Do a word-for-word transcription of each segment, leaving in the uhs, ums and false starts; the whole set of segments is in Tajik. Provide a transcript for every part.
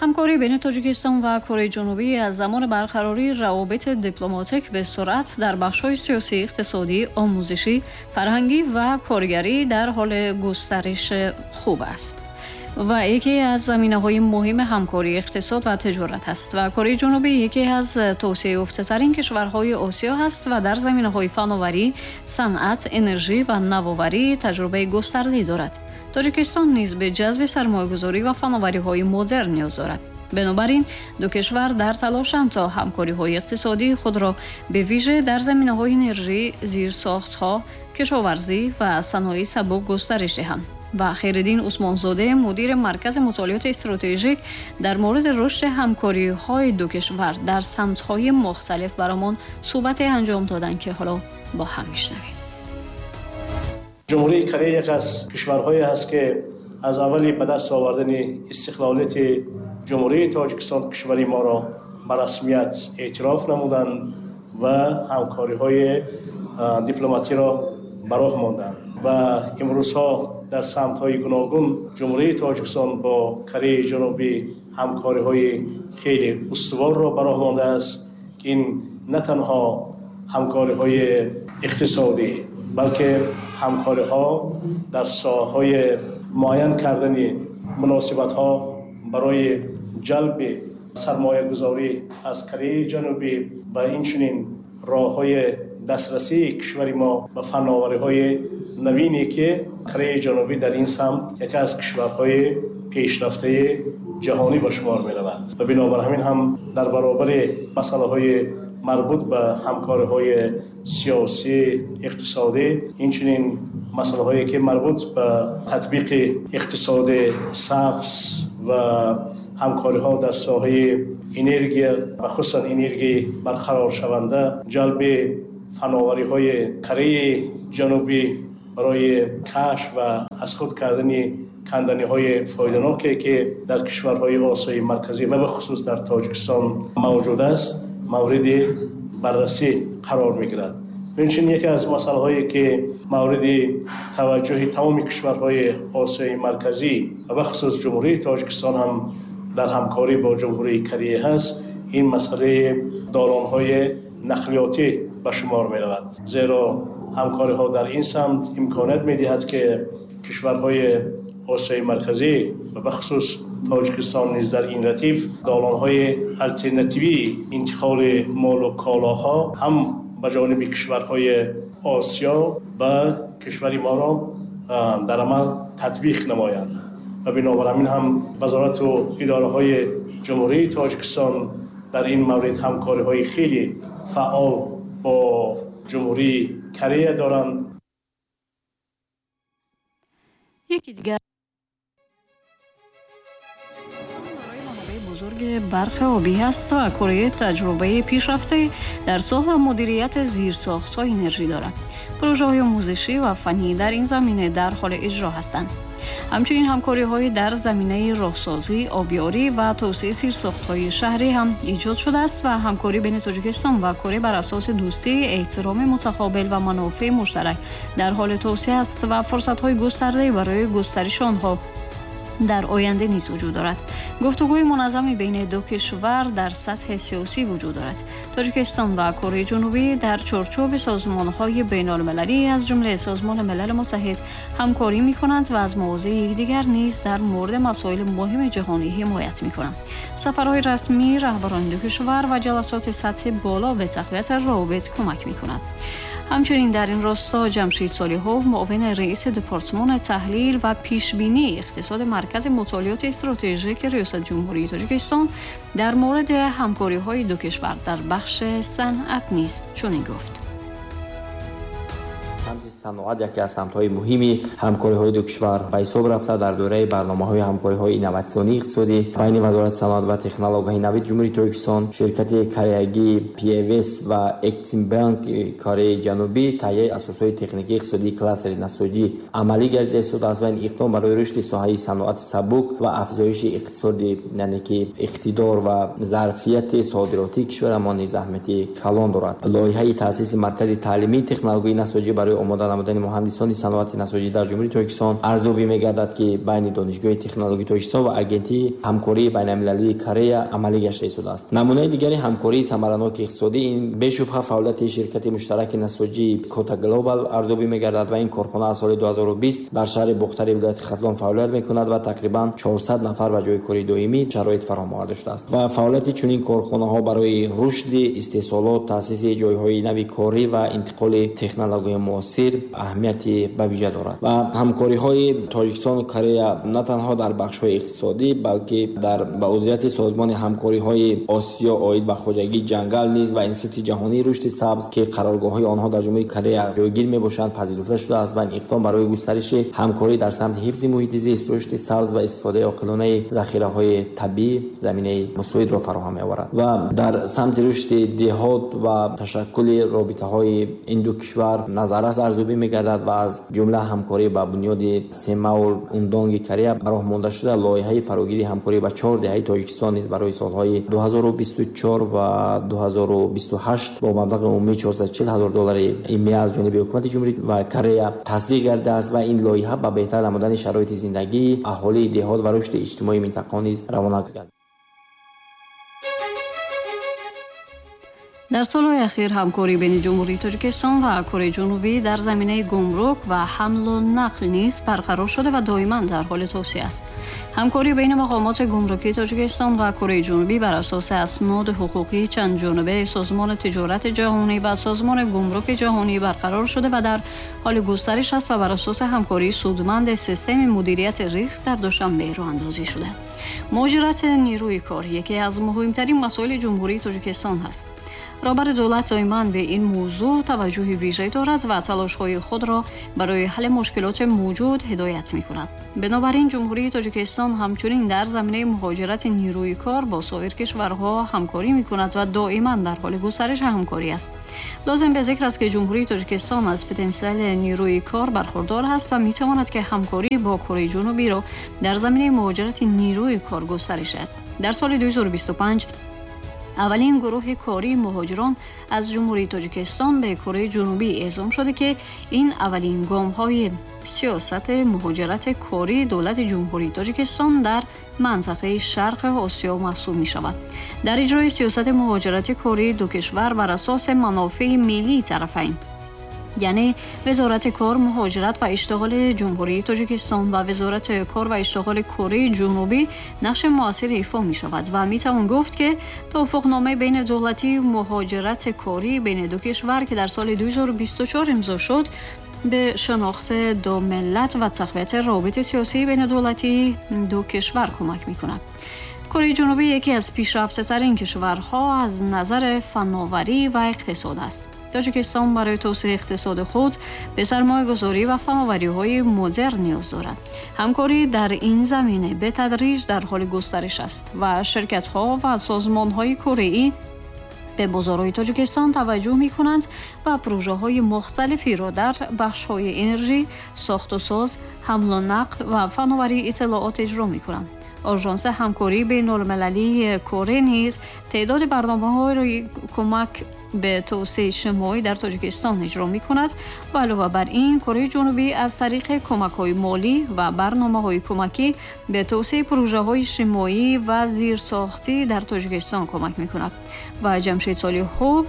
ҳамкорӣ байни Тоҷикистон ва Кореяи Ҷанубӣ аз замони барқарории равобити дипломатик ба суръат дар бахшҳои сиёсӣ, иқтисодӣ, омӯзишӣ, фарҳангӣ ва коргарӣ дар ҳоли густариши хуб аст ва яке аз заминаҳои муҳими ҳамкории иқтисод ва тиҷорат аст ва Кореяи Ҷанубӣ яке аз тавсеаёфтатарин кишварҳои Осиё ҳаст ва дар заминаҳои фановарӣ, санъат, энержӣ ва навоварӣ таҷрибаи густардае дорад. Тоҷикистон низ ба ҷазби сармоягузорӣ ва фановариҳои модерн ниёз дорад. Бинобар ин ду кишвар дар талошанд то ҳамкориҳои иқтисодии худро ба вижа дар заминаҳои энержӣ, зирсохтҳо, кишоварзӣ ва саноии сабук густариш диҳанд. Ва Хайриддин Усмонзода, мудири Маркази мутолиоти стратегик, дар мавриди рушди ҳамкориҳои ду кишвар дар самтҳои мухталиф барамон суҳбате анҷом доданд, ки ҳоло бо ҳам мешнавем. Ҷумҳурии Корея яке аз кишварҳое аст, ки аз аввали ба даст овардани истиқлолияти Ҷумҳурии Тоҷикистон кишвари моро ба расмият эътироф намуданд ва ҳамкориҳои дипломатиро ба роҳ монданд ва имрӯзҳо дар самтҳои гуногун Ҷумҳурии Тоҷикистон бо Кореяи Ҷанубӣ ҳамкориҳои хеле устуворро ба роҳ мондааст, ки ин на танҳо ҳамкориҳои иқтисодӣ, балки ҳамкориҳо дар соҳаҳои муайян кардани муносибатҳо барои ҷалби сармоягузорӣ аз Кореяи Ҷанубӣ ва инчунин роҳҳои дастрасии кишвари мо ба фановариҳои навине, ки Кореяи Ҷанубӣ дар ин самт яке аз кишварҳои пешрафтаи ҷаҳонӣ ба шумор меравад. Ва бинобар ҳамин ҳам дар баробари масъалаҳои марбут ба ҳамкориҳои сиёсӣ, иқтисодӣ, инчунин масъалаҳое ки марбут ба татбиқи иқтисоди сабз ва ҳамкориҳо дар соҳаи энергия ва хусусан энергияи барқароршаванда, ҷалби фановариҳои Кореяи Ҷанубӣ барои кашф ва аз худ кардани канданиҳои фоиданоке, ки дар кишварҳои Осиёи Марказӣ ва бахусус дар Тоҷикистон мавҷуд аст, мавриди баррасӣ қарор мегирад. Инчунин яке аз масъалаҳое, ки мавриди таваҷҷӯҳи тамоми кишварҳои Осиёи Марказӣ ва бахусус Ҷумҳурии Тоҷикистон ҳам дар ҳамкорӣ бо Ҷумҳурии Корея ҳаст, ин масъалаи долонҳои нақлиётӣ ба шумор меравад. Зеро ҳамкориҳо дар ин самт имконият медиҳад, ки кишварҳои Осиёи Марказӣ ва бахусус Тоҷикистон низ дар ин ратиф долонҳои алтернативии интиқоли мол ва колоҳо ҳам ба ҷониби кишварҳои Осиё ба кишвари моро дар амал татбиқ намоянд. Ва бинобар ҳамин ҳам вазорату идораҳои Ҷумҳурии Тоҷикистон дар ин маврид ҳамкориҳои хеле фаъол бо Ҷумҳурии Корея доранд. Яке дигар бузурги барқи обӣ ҳаст ва Корея таҷрибаи пешрафта дар соҳа мудирияти зирсохтҳои энержӣ дорад. Пурожаҳои омӯзишӣ ва фаннӣ дар ин замина дар ҳоли иҷро ҳастанд. Ҳамчунин ҳамкориҳои дар заминаи роҳсозӣ, обёрӣ ва тавсеаи зирсохтҳои шаҳрӣ ҳам эҷод шудааст ва ҳамкорӣ байни Тоҷикистон ва Корея бар асоси дӯстӣ, эҳтироми мутақобил ва манофеи муштарак дар ҳоли тавсеа аст ва фурсатҳои густардае барои густариши онҳо дар оянда низ вуҷуд дорад. Гуфтугӯи муназзами байни ду кишвар дар сатҳи сиёсӣ вуҷуд дорад. Тоҷикистон ва Кореяи Ҷанубӣ дар чорчӯби созмонҳои байналмилалӣ аз ҷумла Созмони Милали Муттаҳид ҳамкорӣ мекунанд ва аз мавозеи якдигар низ дар мавриди масоили муҳими ҷаҳонӣ ҳимоят мекунанд. Сафарҳои расмии раҳбарони ду кишвар ва ҷаласоти сатҳи боло ба тақвияти равобит кӯмак мекунанд. Ҳамчунин дар ин росто Ҷамшид Солиҳов, муовини раиси департамони таҳлил ва пешбинии иқтисоди Маркази мутолиоти стратегики Риёсати Ҷумҳурии Тоҷикистон дар мавриди ҳамкориҳои ду кишвар дар бахши санъат низ чунин гуфт. Самти саноат яке аз самтҳои муҳими ҳамкориҳои ду кишвар ба ҳисоб рафта дар доираи барномаҳои ҳамкориҳои инноватсионии иқтисодӣ байни Вазорати саноат ва технологияҳои нави Ҷумҳурии Тоҷикистон, ширкати кореягии пи эф эс ва Эксимбанк Кореяи Ҷанубӣ таҳияи асосҳои техникии иқтисодии кластери насоҷӣ амалӣ гардида истодааст ва ин иқдом барои рушди соҳаи саноати сабук ва афзоиши иқтисоди, яъне ки иқтидор ва зарфияти содиротии кишварамон низ аҳамияти калон дорад. Лоиҳаи таъсиси маркази таълимии технологияи насоҷӣ барои омода намудани муҳандисони саноати насоҷӣ дар Ҷумҳурии Тоҷикистон арзёбӣ мегардад, ки байни Донишгоҳи технологии Тоҷикистон ва Агентии ҳамкории байналмилалии Корея амалӣ гашта истодааст. Намунаи дигари ҳамкории самараноки иқтисодӣ ин бешубҳа фаъолияти ширкати муштараки насоҷии Кота Глобал арзёбӣ мегардад ва ин корхона аз соли ду ҳазору бист дар шаҳри Бохтари вилояти Хатлон фаъолият мекунад ва тақрибан чорсад нафар ба ҷои кори доимӣ шароит фароҳам оварда шудааст ва фаъолияти чунин корхонаҳо барои рушди истеҳсолот, таъсиси ҷойҳои нави корӣ ва интиқоли технологияи муосир аҳамияти ба вижа дорад ва ҳамкориҳои Тоҷикистону Корея на танҳо дар бахшҳои иқтисодӣ, балки дар ба узвияти Созмони ҳамкориҳои Осиё оид ба хоҷагии ҷангал низ ва Институти ҷаҳонии рушди сабз, ки қароргоҳҳои онҳо дар Ҷумҳурии Корея ҷойгир мебошанд, пазируфта шудааст ва ин иқдом барои густариши ҳамкорӣ дар самти ҳифзи муҳити зист, рушди сабз ва истифодаи оқилонаи захираҳои табиӣ заминаи мусоидро фароҳам меоварад ва дар самти рушди деҳот ва ташаккули робитаҳои ин ду кишвар назаррас арзёбӣ мегардад ва аз ҷумла ҳамкорӣ ба бунёди Семаул Ундонги Корея ба роҳ монда шуда лоиҳаи фарогирии ҳамкорӣ ба чор деҳаи Тоҷикистон низ барои солҳои ду ҳазору бисту чор ва ду ҳазору бисту ҳашт бо маблағи умумии чорсаду чил ҳазор доллари имия аз ҷониби ҳукумати ҷумҳурӣ ва Корея тасдиқ гардидааст ва ин лоиҳа ба беҳтар намудани шароити зиндагии аҳолии деҳот ва рушди иҷтимоии минтақа низ равона гардид. Дар солҳои ахир ҳамкорӣ байни Ҷумҳурии Тоҷикистон ва Кореяи Ҷанубӣ дар заминаи гумрук ва ҳамлу нақл низ барқарор шуда ва доиман дар ҳоли тавсеа аст. Ҳамкорӣ байни мақомоти гумрукии Тоҷикистон ва Кореяи Ҷанубӣ бар асоси асноди ҳуқуқии чандҷонибаи Созмони тиҷорати ҷаҳонӣ ва Созмони гумруки ҷаҳонӣ барқарор шуда ва дар ҳоли густариш аст ва бар асоси ҳамкории судманди системи мудирияти риск дар Душанбе роҳандозӣ шуда. Муҳоҷирати нерӯи кор яке аз муҳимтарин масоили Ҷумҳурии Тоҷикистон ҳаст. Роҳбари давлат доиман ба ин мавзӯъ таваҷҷӯҳи вижа дорад ва талошҳои худро барои ҳалли мушкилоти мавҷуд ҳидоят мекунад. Бинобар ин Ҷумҳурии Тоҷикистон ҳамчунин дар заминаи муҳоҷирати нерӯи кор бо соир кишварҳо ҳамкорӣ мекунад ва доиман дар ҳоли густариши ҳамкорӣ аст. Лозим ба зикр аст, ки Ҷумҳурии Тоҷикистон аз потенсиали нерӯи кор бархурдор ҳаст ва метавонад, ки ҳамкорӣ бо Кореяи Ҷанубиро дар заминаи муҳоҷирати нерӯи кор густариш диҳад. Дар соли ду ҳазору бисту панҷ аввалин гурӯҳи кории муҳоҷирон аз Ҷумҳурии Тоҷикистон ба Кореяи Ҷанубӣ эъзом шуда, ки ин аввалин гомҳои сиёсати муҳоҷирати кории давлати Ҷумҳурии Тоҷикистон дар минтақаи Шарқи Осиё маҳсуб мешавад. Дар иҷрои сиёсати муҳоҷирати кории ду кишвар бар асоси манофеи миллии тарафайн, яъне Вазорати кор, муҳоҷират ва иштиғоли Ҷумҳурии Тоҷикистон ва Вазорати кор ва иштиғоли Кореяи Ҷанубӣ нақши муассири ифо мешавад ва метавон гуфт, ки тавофуқномаи байнидавлатии муҳоҷирати корӣ байни ду кишвар, ки дар соли ду ҳазору бисту чор имзо шуд, ба шинохти ду миллат ва тақвияти робитаи сиёсии байнидавлатии ду кишвар кӯмак мекунад. Кореяи Ҷанубӣ яке аз пешрафтатарин кишварҳо аз назари фановарӣ ва иқтисод аст. Тоҷикистон барои тавсеаи иқтисоди худ ба сармоягузорӣ ва фановариҳои модерн ниёз дорад. Ҳамкорӣ дар ин замина ба тадриҷ дар ҳоли густариш аст ва ширкатҳо ва созмонҳои кореӣ ба бозорҳои Тоҷикистон таваҷҷӯҳ мекунанд ва прожаҳои мухталифиро дар бахшҳои энержӣ, сохту соз, ҳамлу нақл ва фановарии иттилоот иҷро мекунанд. Ожанси ҳамкории байналмилалии Корея низ теъдоди барномаҳои кӯмак ба тавсеаи иҷтимоӣ дар Тоҷикистон иҷро мекунад ва илова бар ин Кореяи Ҷанубӣ аз тариқи кӯмакҳои молӣ ва барномаҳои кӯмакӣ ба тавсеаи прожаҳои иҷтимоӣ ва зирсохтӣ дар Тоҷикистон кӯмак мекунад. Ва Ҷамшед Солиҳов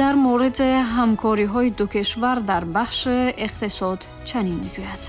дар мавриди ҳамкориҳои ду кишвар дар бахши иқтисод чунин мегӯяд.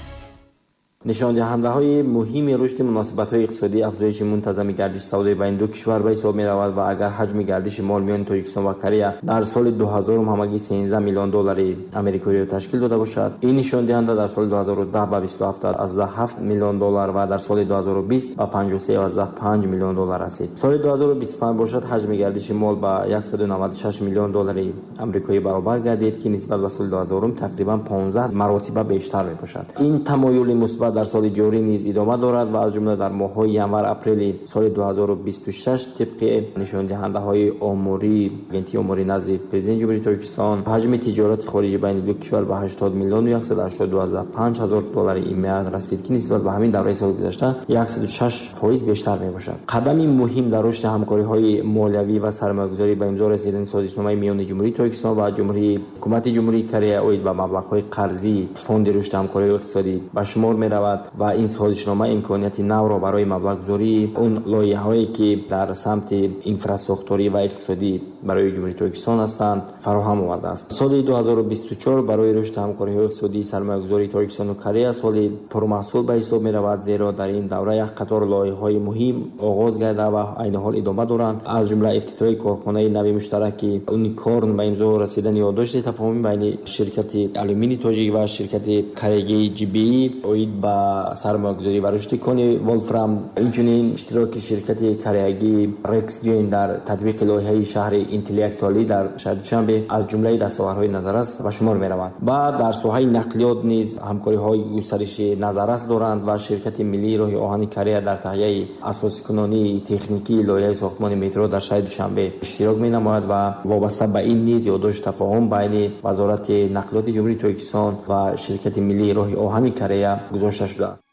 Нишондиҳандаҳои муҳими рушди муносибатҳои иқтисодӣ афзоиши мунтазами гардиши савдои байни ду кишвар ба ҳисоб меравад ва агар ҳаҷми гардиши мол миёни Тоҷикистон ва Корея дар соли ду ҳазорум ҳамагӣ сенздаҳ миллион доллари амрикоиро ташкил дода бошад, ин нишондиҳанда дар соли ду ҳазору даҳ ба бисту ҳафт аз даҳ ҳафт миллион доллар ва дар соли ду ҳазору бист ба панҷоҳу се аз даҳ панҷ миллион доллар расид. Соли ду ҳазору бисту панҷ бошад, ҳаҷми гардиши мол ба яксаду наваду шаш миллион доллари амрикоӣ баробар гардид, ки нисбат ба соли ду ҳазорум тақрибан понздаҳ маротиба бештар мебошад. Ин тамоюли мусбат дар соли ҷорӣ низ идома дорад ва аз ҷумла дар моҳҳои январ-апрели соли ду ҳазору бисту шаш тибқи нишондиҳандаҳои омории Агентии омории назди Президенти Ҷумҳурии Тоҷикистон ҳаҷми тиҷорати хориҷӣ байни ду кишвар ба ҳаштод миллиону яксаду ҳаштоду ду аз даҳ панҷ ҳазор доллари имия расид, ки нисбат ба ҳамин давраи соли гузашта яксаду шаш фоиз бештар мебошад. Қадами муҳим дар рушди ҳамкориҳои молиявӣ ва сармоягузорӣ ба имзо расидани созишномаи миёни Ҷумҳурии Тоҷикистон ва Ҷумҳурии ҳукумати Ҷумҳурии Корея оид ба маблағҳои қарзии Фонди рушди ҳамкориҳои иқтисодӣ ба шумор меравад ва ин созишнома имконияти навро барои маблағгузории он лоиҳаҳое, ки дар самти инфрасохторӣ ва иқтисодӣ барои Ҷумҳурии Тоҷикистон ҳастанд, фароҳам овардааст. Соли ду ҳазору бисту чор барои рушди ҳамкориҳои иқтисодии сармоягузории Тоҷикистону Корея соли пурмаҳсул ба ҳисоб меравад, зеро дар ин давра як қатор лоиҳаҳои муҳим оғоз гарда ва айни ҳол идома доранд, аз ҷумла ифтитоҳи корхонаи нави муштараки Уникорн, ба имзо расидани ёддошти тафоҳуми байни ширкати Алюмини Тоҷик ва ширкати кореягии Ҷи Би оид ба сармоягузорӣ ва рушди кони Волфрам, инчунин иштироки ширкати кореягии Рексҷен дар татбиқи лоиҳаи шаҳри интеллектуалӣ дар шаҳри Душанбе аз ҷумлаи дастовардҳои назаррас ба шумор мераванд. Ва дар соҳаи нақлиёт низ ҳамкориҳои густариши назаррас доранд ва ширкати миллии роҳи оҳани Корея дар таҳияи асосикунонии техникии лоиҳаи сохтмони метро дар шаҳри Душанбе иштирок менамояд ва вобаста ба ин низ ёддошти тафоҳум байни Вазорати нақлиёти Ҷумҳурии Тоҷикистон ва ширкати миллии роҳи оҳани Корея гузошта шудааст.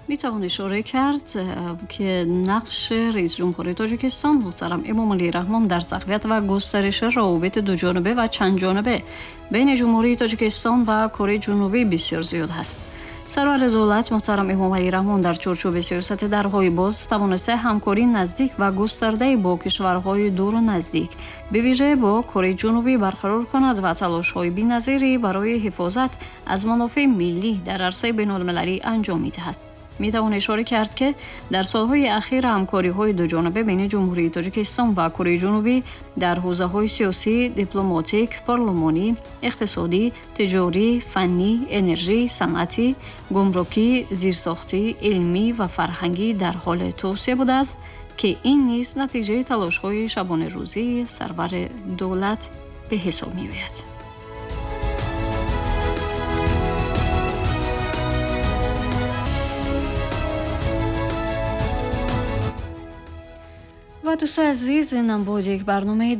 میتوان اشاره کرد که نقش رئیس جمهوری تاجیکستان محترم امامعلی رحمان در تقویت و گسترش روابط دو جانبه و چند جانبه بین جمهوری تاجیکستان و کره جنوبی بسیار زیاد است. سرور دولت محترم امامعلی رحمان در چارچوب سیاست درهای باز توانسته همکاری نزدیک و گسترده با کشورهای دور و نزدیک به ویژه با کره جنوبی برقرار کند و تلاش‌های بی‌نظیری برای حفاظت از منافع ملی در عرصه بین‌المللی انجام می‌دهد. میتوان اشاره کرد که در سالهای اخیر همکاری‌های دو جانبه بین جمهوری تاجیکستان و کره جنوبی در حوزه‌های سیاسی، دیپلماتیک، پارلمانی، اقتصادی، تجاری، فنی، انرژی، صنعتی، گمرکی، زیرساختی، علمی و فرهنگی در حال توسعه بوده است که این نیز نتیجه تلاش‌های شبانه روزی سرور دولت به حساب می‌آید. و دوست عزیز، اینم بود یک برنامه